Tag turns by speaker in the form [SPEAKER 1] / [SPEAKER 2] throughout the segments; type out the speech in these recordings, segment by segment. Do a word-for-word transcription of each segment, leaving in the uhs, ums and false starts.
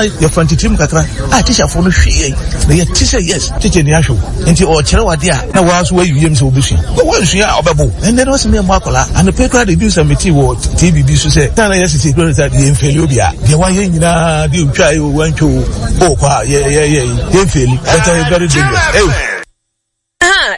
[SPEAKER 1] Na yɛfa ntitirim kakra a tikyafoɔ no hwɛ yɛn na yɛte sɛ yes, tikya ni ahwɛ wo nti ɔkyerɛ wade a na waa so wayi wiem sɛ wobɛsua wɔnsua a ɔbɛbo. Ɛnɛ no ɔsɛ meyɛ akɔla anɔpɛ koraa de bi sɛ metee wɔ T V bi so sɛ na yɛ sisi kura sɛ yɛmfail obi a deɛ wayɛ nyinaa deɛ otwa yɛ o, wantwa o, ɔkɔ a yɛ yɛ yɛmfail, but ɛyɛ very dangerous. Hey.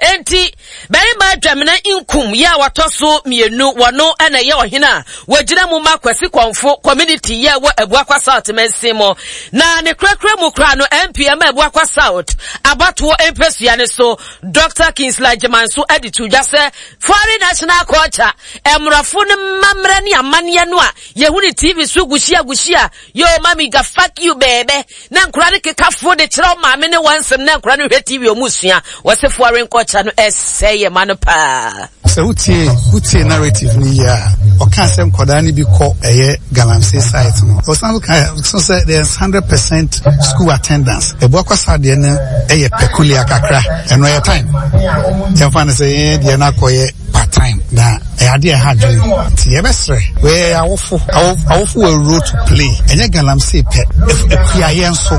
[SPEAKER 2] Enti barima Adwamena Nkum yɛ a wɔtɔ so mmienu, wɔno ɛna ɛyɛ ɔhene a wɔgyina mu ma Kwasi Kɔnfo community yɛ wɔ Abuakwa South mansin mu. Na ne kurakura mu kora no, M P ma Abuakwa South abatoɔ mpɛsua ne so, Doctor Kingsley Agyeman so de to dwa sɛ foreign national culture, mmorɔfo no mmammerɛ ne amanneɛ no a yɛhu ne T V so guhyia guhyia yo mami ga fuck you baby, na nkora no keka fo de kyerɛ maame ne wɔn nsɛm na nkora no hwɛ T V ɔmu sua, wɔsɛ foreign culture no ɛsɛ yɛ ma no paa.
[SPEAKER 3] Sɛ wotie wotie narrative no yie a, ɔka sɛ nkwadaa no bi kɔ ɛyɛ galamsey site no. Ɔsan so ka so sɛ there's hundred percent school attendance. Abuakwa South deɛ no ɛyɛ peculiar kakra. Ɛno ɛyɛ time yɛmfa no sɛ yɛn deɛ no akɔyɛ part time na ɛyɛ adeɛ ɛha adwene, nti yɛbɛsrɛ wɔyɛ awofo. Awofo wɔ role to play. Ɛnyɛ galamsey pɛ, akuayɛ nso.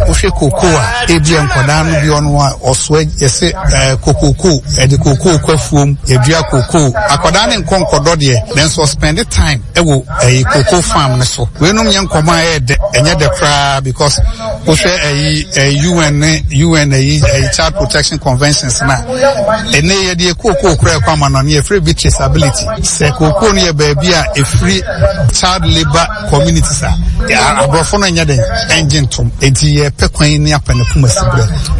[SPEAKER 3] Wohwɛ koko a, ebi nkwadaa no bi ɔno a ɔsoa yɛsɛ ɛɛ kokoko, ɛde koko kɔ afuom, yɛdua koko, akwadaa ne nkɔ nkɔdɔ deɛ, nanso ɔspend time ɛwɔ ɛyi koko farm ne so. Weinom nyɛ nkɔmɔ a ɛyɛ dɛ, ɛnyɛ dɛ koraa, because wohwɛ ɛyi ɛyi U N ne U N ɛyi ɛyi child protection conventions na ɛnɛ yɛde koko kora ɛkɔ ama no no, yɛfrɛ bi traceability sɛ koko no yɛ baabi a ɛfiri child labour communities a aborɔfo no nyɛ den ɛngye ntom, enti yɛpɛ kwan ne apɛ ne poma si berɛ.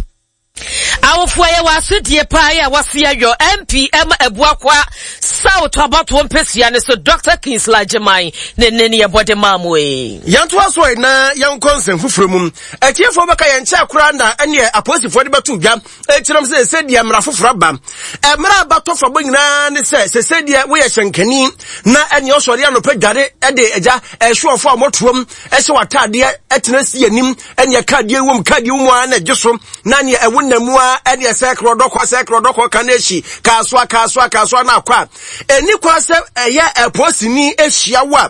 [SPEAKER 2] Awofoɔ yɛ wɔ asodie paa yɛ a wɔse ayɔ M P ɛma Abuakwa South abatoɔ mpɛsua ne so, Doctor Kingsley Agyeman ne ne ne yɛbɔ de maa mo yi.
[SPEAKER 4] Yɛntoa so yi na yɛnkɔ nsɛm foforɔ mu. Atiefoɔ, bɛka yɛn nkyɛn koraa na ɛneɛ apolisifoɔ de bɛto dwa ɛkyerɛm sɛ sɛ deɛ mmara foforɔ aba. Mmara aba tɔ fa bɔ nyinaa ne sɛ sɛ sɛ deɛ woyɛ hyɛnkani na ɛneɛ ɔsɔre anɔpɛ dware ɛde agya ɛsoɔfo a wɔtoam ɛhyɛ w'ataadeɛ ɛtena si anim, ɛneɛ kaadeɛ wom kaadeɛ wom a na ɛgye so na neɛ ɛwo nam mu a ɛneɛ sɛ korɔdɔkɔ sɛ korɔdɔkɔ ka no akyi kaasoa kaasoa kaasoa no akɔ a ɛni kwa sɛ ɛyɛ ɛpolisini ahyia wo a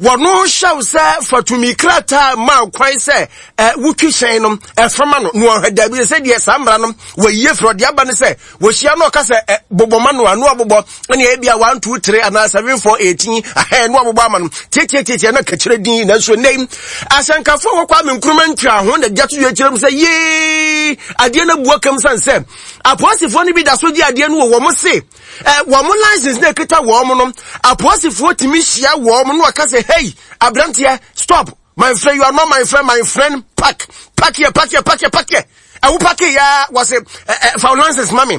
[SPEAKER 4] wɔno hyɛw sɛ fatumi krataa ma kwan sɛ ɛ wotwi hyɛn no ɛfama no na wɔhwɛ. Dabi, sɛ deɛ saa mmara no wɔyie firi ɔde aba no sɛ wɔhyia no ɔka sɛ ɛ bobɔ ma no a no abobɔ ɛne ebi a one two three anaa seven four eighteen ahɛn no abobɔ ama no tietietie na kakyerɛ din. Nanso nnɛ yi ahyɛnkafoɔ wɔ Kwame Nkrumah ntua ho na gya to yɛ kyerɛ mu sɛ yee adeɛ no abua kam san sɛ apolisifoɔ no bi da so gye adeɛ no wɔ wɔn se ɛ wɔn license na ekita wɔn no. Apolisifoɔ tumi hyia wɔn no ɔka sɛ, "Hey, aberanteɛ, stop, my friend. You are not my friend. My friend, park, park here, park here, park here, park here." Ɛwo park ya, wɔse ɛ ɛ fa license ma me.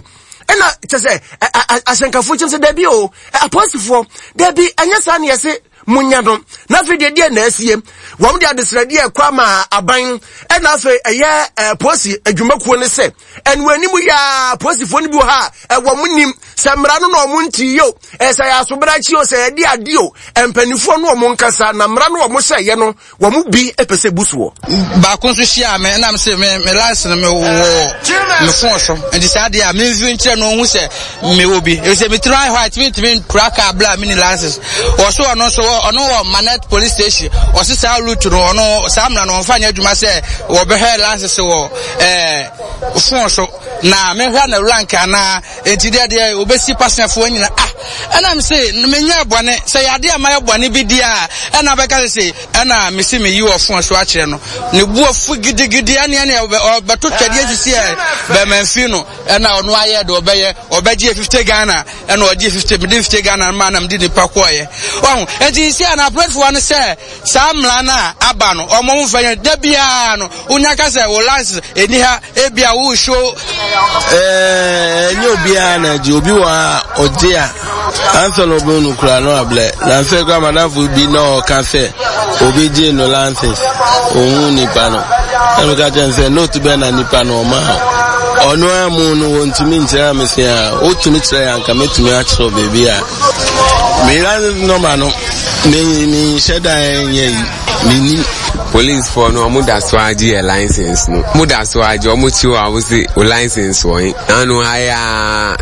[SPEAKER 4] Ɛna kyɛ sɛ ɛ ahyɛnkafoɔ kyɛm sɛ dabi o, apolisifoɔ dabi, ɛnyɛ saa ne yɛse munya no. Na afei deɛ deɛ na asie, wɔn de adesrɛdeɛ ɛkɔ ama aban, ɛna afei ɛyɛ ɛɛ polisi adwumakuo ne sɛ ɛnu anim yaa polisifoɔ no bi wɔ ha a ɛwɔ mo nim sɛ mmara no na ɔmo nti yi o, ɛsɛ yɛ asobrakyi o, sɛ yɛde adi o, mpanimfoɔ no ɔmo nkasa na mmara no ɔmo hyɛ yɛ no, wɔn bi pɛ sɛ bu soɔ.
[SPEAKER 5] Baako nso hyia me ɛnam sɛ me me license no me wɔ me phone so, nti saa deɛ a me nfi nkyerɛ no ohun sɛ me wɔ bi efisɛ me tiri ayɛ hɔ a tumi ntumi nkura kaa bla mi ni license. Wɔso ɔno nso ɔno wɔ Manet Police Station. Ɔsi saa route no, ɔno saa mmara no ɔnfa nyɛ adwuma sɛ wɔbɛhwɛ license wɔ ɛɛ phone so na mehwɛ na rank anaa. Nti deɛ deɛ obesi pasɛnfoɔ nyina ah, ɛna mi se menyɛ bɔne sɛ yade a mayɛ bɔne bi di a, ɛna bɛka sɛ se ɛna mesi meyi wɔ phone so akyerɛ no, ne bu afu gidigidi, ɛne ɛne ɔbɛto twɛdeɛ sisi ɛ bɛmɛnfi no, ɛna ɔno ayɛ de ɔbɛyɛ ɔbɛgye fifty Ghana, ɛna ɔgye fifty, mede fifty Ghana ma na mede nipa kɔɔyɛ ɔho. Nti si a na apolisifoɔ no sɛ saa mmara no a aba no, ɔmo ho fɛ yɛn da biara no wonya ka sɛ wo license ɛni ha, ebia wo show.
[SPEAKER 6] Ɛnyɛ obiara na agye. Obi wɔ ha ɔgye a ansa na ɔbɛn no kura no ablɛ na nsɛ kura madamfo bi na ɔka sɛ obi gye no license, ohun nipa no, ɛna ɔka kyerɛ no sɛ note bɛn na nipa no ɔma ɔno amu no, wɔntumi nkyerɛ ame se a wotumi kyerɛ yɛ anka mɛtumi akyerɛ baabi a me license number no me me nhyɛ dan nyɛ yi menim.
[SPEAKER 7] Policefoɔ no, ɔmo da so agye yɛ license no, ɔmo da so agye. Ɔmo kyi wɔ a wosi o license wɔ yi nanu ayɛ a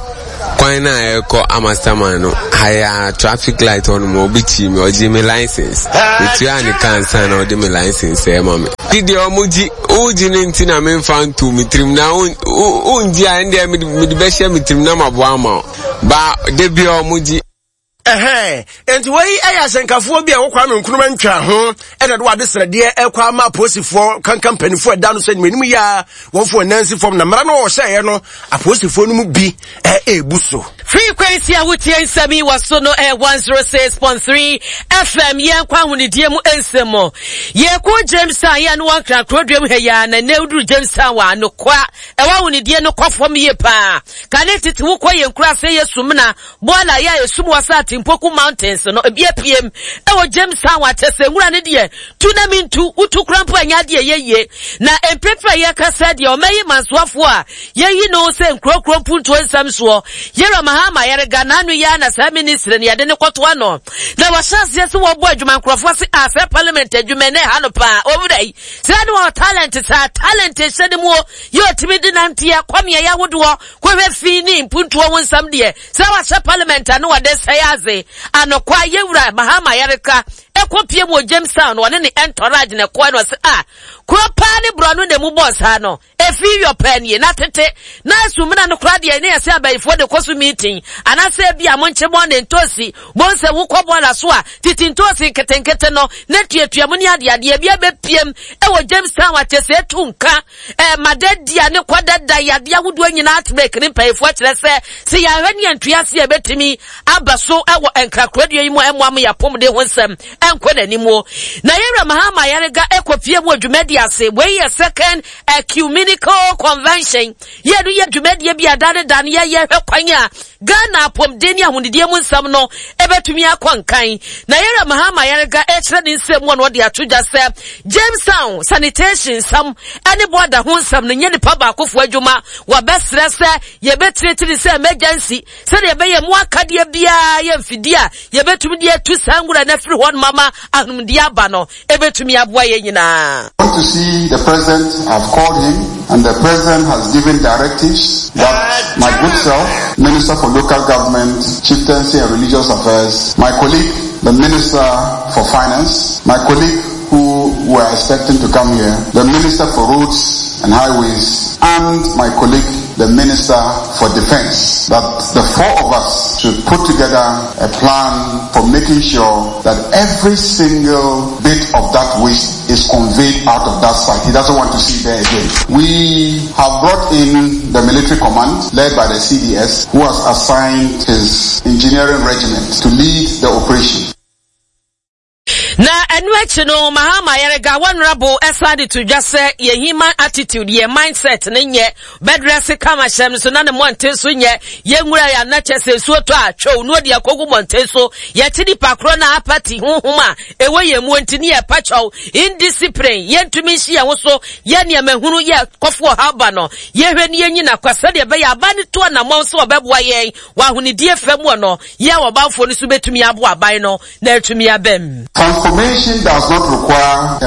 [SPEAKER 7] Kwan no a ɛrekɔ Amasaman no, ha yi ara traffic light hɔ nom, obi kyii me, ɔgyee me license. Metuaa ne ka ansa na ɔde me license rema me. Gye deɛ ɔmo gye, wogye no nti na memfa ntoo me tirim na wongye a ɛndeɛ mede bɛhyɛ me tirim na maboa ama wo. Ba da biara ɔmo gye.
[SPEAKER 4] Ɛhɛn, enti wei yɛ ahyɛnkafoɔ bi a ɛwɔ Kwame Nkrumah ntwa ho ɛna de wɔade srɛdeɛ ɛkɔ ama apolisifoɔ kankan mpanimfoɔ ɛda no sɛ anim yɛ a wɔmfo wɔn nan si fam na mmara no wɔhyɛeɛ no apolisifoɔ no mu bi ɛɛbu so.
[SPEAKER 2] Frequency a wotie nsɛm yi wɔ so no ɛyɛ one zero six point three F M. Yɛn kɔ ahonidie mu nsɛm mu. Yɛkɔ Jamestown yɛ no wɔ Nkran kuroduam ha yi ara na nnɛ woduru Jamestown wɔ anokoa ɛwɔ ahonidie no kɔ fam yie paa. Kane tete wokɔ yɛn kura ase yɛ Sumina Bɔɔla yɛ a esum wɔ saa Timpoku Mountains no ebi apiem ɛwɔ Jamestown akyɛ sɛ nwura no deɛ tu na mentu wotu kora mpo ɛnyɛ adeɛ ɛyɛ yie. Na mprempren a yɛkasa deɛ ɔma yi mansoafoɔ a yɛyi no sɛ nkurokuro mpuntuo nsɛm soɔ Yɛwura Mahama Ayariga n'ano yi ara na saa ministry no yɛde no kɔto ano na wɔhyɛ aseɛ sɛ wɔbɔ adwuma nkurɔfoɔ se a sɛ parliament adwuma na ɛha no paa owura yi sɛ ne wɔ talent saa talent hyɛ ne mu o yɛ ɔtumi de nanteɛ kɔ mmeaeɛ ahodoɔ kɔhwɛ fi ne mpuntuo ho nsɛm deɛ sɛ wahyɛ parliament a ne wɔde sɛe adze anokwa Yɛwura Mahama Ayariga ɛkɔ pie mu wɔ Jamestown wɔne ne entourage na ɛkɔɛ no ɔsɛ a kuro paa ne borɔno na emu bɔɔ saa no efi yɔ paa nie. Na tete na esumina no koraa deɛ ne yɛsɛ abayifoɔ de kɔ so meeting anaasɛ ebi a monkye bɔn ne ntoosi bon sɛ wokɔ bɔɔla so a tete ntoosi nketenkete no ne tuatua mu ne adeadeɛ bi abɛpiem ɛwɔ Jamestown akyɛ sɛ etu nka ɛɛ madadia ne kɔdada yadeɛ ahodoɔ nyinaa outbreak ne mpanyinfoɔ kyerɛ sɛ sɛ yɛahwɛ ne yɛntua ase a ɛbɛtumi aba so ɛwɔ nkrakoradua yi mu a ɛmmoa mo yɛapɔmuden ho nsɛm ɛnkɔ n'anim o. Na Yɛwura Mahama Ayariga ɛkɔpie mu wɔ dwumadi ase. Wei yɛ second ecumenical convention yɛ no yɛ dwumadie bi a dane dane yɛyɛ hwɛ kwan a Ghana apɔmuden ne ahonidie mu nsɛm no ɛbɛtumi akɔ nkan. Na Yɛwura Mahama Ayariga ɛkyerɛ ne nsɛm mu a na ɔde ato dwa sɛ Jamestown sanitation nsɛm ɛne bɔɔda ho nsɛm no nyɛ nipa baakofoɔ adwuma. Wɔbɛsrɛ sɛ yɛbɛtiritiri sɛ emergency sɛdeɛ ɛbɛyɛ mu akadeɛ biara yɛ mfidie a yɛbɛtumi de atu saa nwura no afiri hɔ no mama ahomdeɛ aba no ɛbɛtumi aboa yɛn nyinaa.
[SPEAKER 8] Want to see the president. I've called him, and the president has given directives that my good self, Minister for Local Government, Chieftaincy and Religious Affairs, my colleague, the Minister for Finance, my colleague who were expecting to come here, the Minister for Roads and Highways, and my colleague, the Minister for Defense, that the four of us should put together a plan for making sure that every single bit of that waste is conveyed out of that site. He doesn't want to see there again. We have brought in the military command led by the C D S, who has assigned his engineering regiment to lead the operation.
[SPEAKER 2] Na ɛno akyi no Mahama Ayariga honorable ɛsan de to dwa sɛ yɛ human attitude, yɛ mindset ne nyɛ bɛdrɛse kama hyɛm no so na ne mmɔnten so nyɛ yɛnwura yɛ anakyɛ sɛ nsuo tɔ a twɛw no ɔde akɔgu mmɔnten so yɛte nipa korɔ na apathy honhom a ɛwɔ yɛn mu nti ne yɛpa kyɛw indiscipline yɛntumi nhyi yɛn ho so yɛ nneɛma hunu yɛ kɔfo ɔhaw ba no yɛhwɛ ne yɛnyina kwa sɛdeɛ ɛbɛyɛ aba ne to anammɔn sɛ ɔbɛboa yɛn wɔ ahonidie fam wɔ no yɛ a ɔbanfoɔ no so bɛtumi aboa aban no na atumi abɛm.
[SPEAKER 8] Transformation does not require a